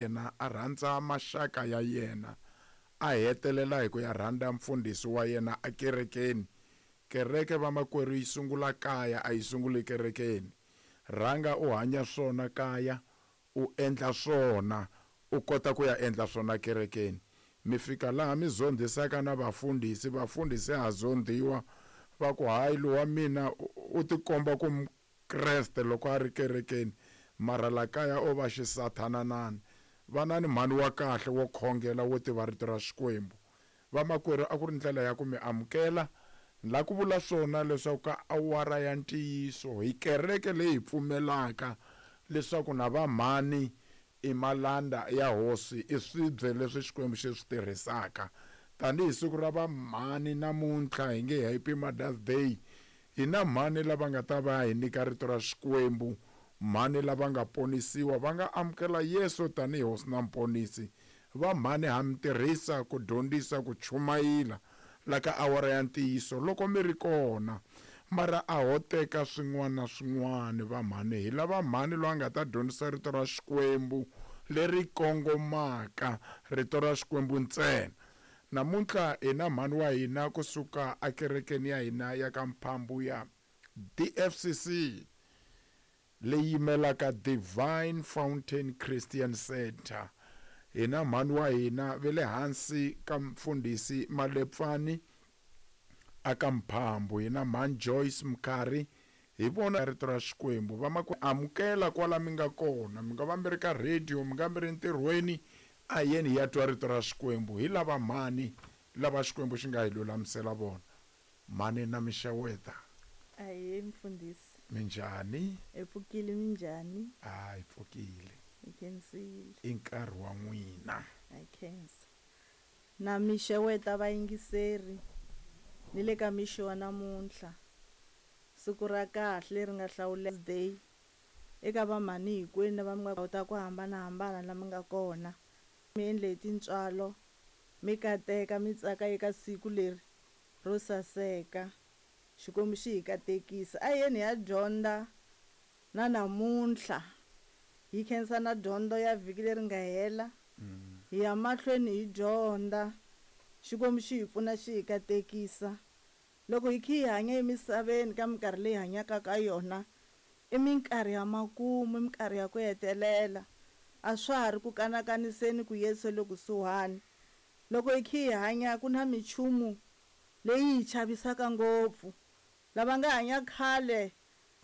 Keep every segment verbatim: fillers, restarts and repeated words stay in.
Yena a rhandza maxaka ya yena, a hetelela hi ku ya rhandza mfundhisi wa yena ekerekeni. Kereke, vamakwerhu, yi sungula kaya, a yi sunguli kerekeni. Rhanga u hanya swona kaya, u endla swona, u kota ku ya endla swona kerekeni. Mi fika laha mi zondhisaka na vafundhisi, vafundhisi ha zondhiwa, va ku hayi, lowa mina u tikomba ku Mukreste loko a ri kerekeni, mara la kaya o va xisathananani. Vanani mhani wa kahle wo khongela, wo tiva rito ra Xikwembu. Vamakwerhu, a ku ri ndlela ya ku mi amukela la ku vula swona leswaku ka awara ya ntiyiso hi kereke leyi hi pfumelaka leswaku na vamhani i malanda ya hosi, i swibye leswi Xikwembu xi swi tirhisaka. Tanihi siku ra vamhani namuntlha, hi nge Happy Mother's Day, hi na mhani lava nga ta va hi nyika rito ra Xikwembu, mhani lava nga ponisiwa, va nga amukela Yesu tanihi hosi na muponisi. Vamhani ha mi tirhisa ku dyondzisa, ku chumayila la ka awara ya ntiyiso loko mi ri kona, mara a ho teka swin'wana na swin'wana. Vamhani, hi lava mhani loyi a nga ta dyondzisa rito ra Xikwembu leri kongomaka, rito ra Xikwembu ntsena. Namuntlha hi na mhani wa hina kusuka ekerekeni ya hina ya ka Mphambu ya D F C C, leyi yimelaka Divine Fountain Christian Center. Hi na mhani wa hina ve le hansi ka mfundhisi Malepfani aka Mphambu, hi na mhani Joyce Mkhari. Hi vona rito ra Xikwembu. Vamakwe, amukela kwala mi nga kona, mi nga va mi ri ka radio, mi nga mi ri ntirhweni, a yeni hi ya twa rito ra Xikwembu. Hi lava mhani lava Xikwembu xi nga hi lulamisela vona. Mhani, na mi xeweta. Ahee, mfundhisi. Minjhani? Hi pfukile, minjhani? A hi pfukile. Hi khensile. I nkarhi wa n'wina. Hi khensa. Na mi xeweta vayingiseri ni le ka mixo wa namuntlha. Siku ra kahle leri nga hlawuleka day eka vamhani hinkwenu lava mi nga ta ku hambanahambana lama nga kona. Mi endle hi tintswalo, mi kateka, mi tsaka eka siku leri ro saseka. Xikwembu xi hi katekisa. A hi yeni hi ya dyondza na namuntlha. Hi khensa na dyondzo ya vhiki leri nga hela. Hi ya mahlweni hi dyondza. Xikwembu xi hi pfuna, xi hi katekisa. Loko hi kha hi hanya emisaveni ka minkarhi leyi hanyaka ka yona, i minkarhi ya makumu, i minkarhi ya ku hetelela. A swa ha ri ku kanakaniseni ku Yesu le kusuhani. Loko hi kha hi hanya, ku na minchumu leyi hi chavisaka ngopfu. Lava nga hanya khale,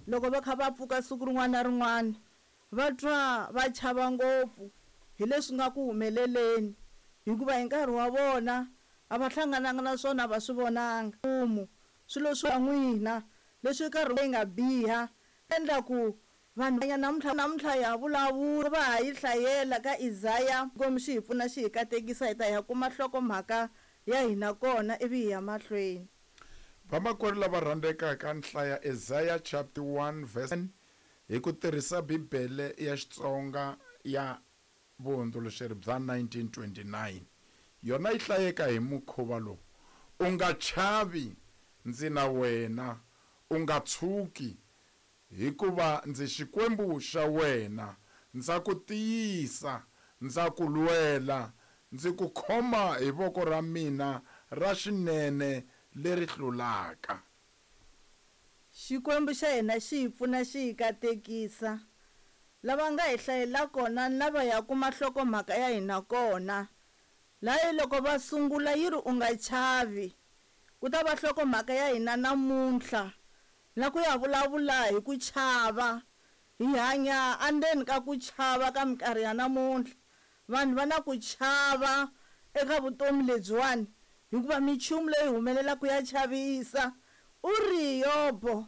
loko va kha va pfuka siku rin'wana na rin'wana, va twa va chava ngopfu hi leswi nga ku humeleleni, hikuva hi nkarhi wa vona a va hlangananga na swona, a va swi vonanga. Swilo swa n'wina leswi nkarhi leyi nga biha endla ku vanhu namuntlha namuntlha ya vulavula va ha yi hlayela ka Isaya. Xikwembu xi hi pfuna, xi hi katekisa. Hi ta ya kuma nhlokomhaka ya hina kona, ivi hi ya mahlweni. Vamakwerhu lava rhandzekaka, nhlaya Isaiah chapter one verse ten hi ku tirhisa Bibele ya Xitsonga ya vuhundzuluxeri bya nineteen twenty-nine. Yona yi hlayeka hi mukhuva lowu: "U nga chavi, ndzi na wena, u nga tshuki, hikuva ndzi Xikwembu xa wena, ndza ku tiyisa, ndza ku lwela, ndzi ku khoma hi voko ra mina ra xinene leri hlulaka." Xikwembu xa hina xi hi pfuna, xi hi katekisa. Lava nga hi hlayela kona ni lava ya kuma nhlokomhaka ya hina kona laha, loko va sungula yi ri, "U nga chavi." Ku ta va nhlokomhaka ya hina namuntlha na ku ya vulavula hi ku chava. Hi hanya endzeni ka ku chava ka minkarhi ya namuntlha. Vanhu va na ku chava eka vutomi lebyiwani, hikuva minchumu leyi humelelaka ya chavisa. U ri Yobo,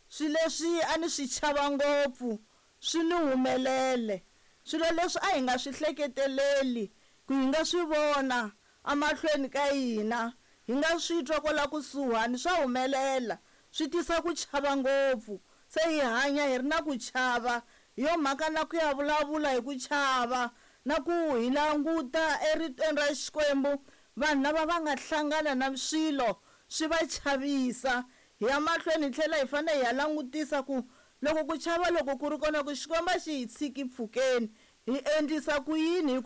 swilo leswi a ni swi chava ngopfu swi ni humelele, swilo leswi a hi nga swi hleketeleli ku hi nga swi vona amahlweni ka hina, hi nga swi twa kwala kusuhani, swa humelela, swi tisa ku chava ngopfu. Se hi hanya hi ri na ku chava. Hi yo mhaka na ku ya vulavula hi ku chava, na ku hi languta eritweni ra Xikwembu vanhu lava va nga hlangana na swilo swi va chavisa. Hi ya mahlweni, hi tlhela hi fanele hi ya langutisa ku loko ku chava loko ku ri kona, ku Xikwembu a xi hi tshiki mpfhukeni, hi endlisa ku yini hi